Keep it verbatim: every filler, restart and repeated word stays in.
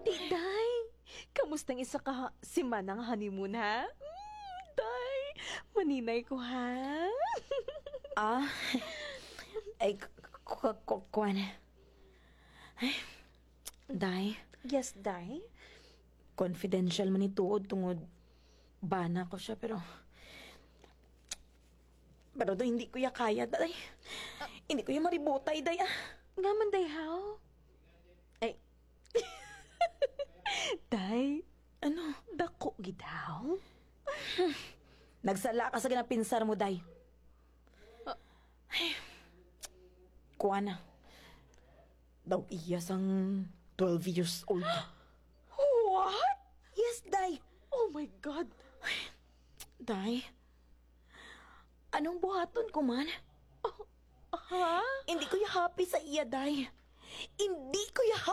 Di, day. Kamusta ang isa ka ha-, semana nga honeymoon, ha? Mm, day, maninay ko, ha? Ah, ay, k- k- k- kuwan. Ay, day, Yes, day. Confidential man ni tuod tungod bana ko siya, pero... Pero do, hindi ko ya kaya, day. Hindi ko ya maributay, day, ah. Nga man, day, how? Ay. Day, Ano? Dako gid, how? Nagsala ka sa ginapinsar mo, day. Ah. Ay, kuha na. Daw iya sang twelve years old. What? Yes, day. Oh my God. Day, anong buhaton ko man? Ha? Hindi ko ya happy sa iya, day. Hindi ko ya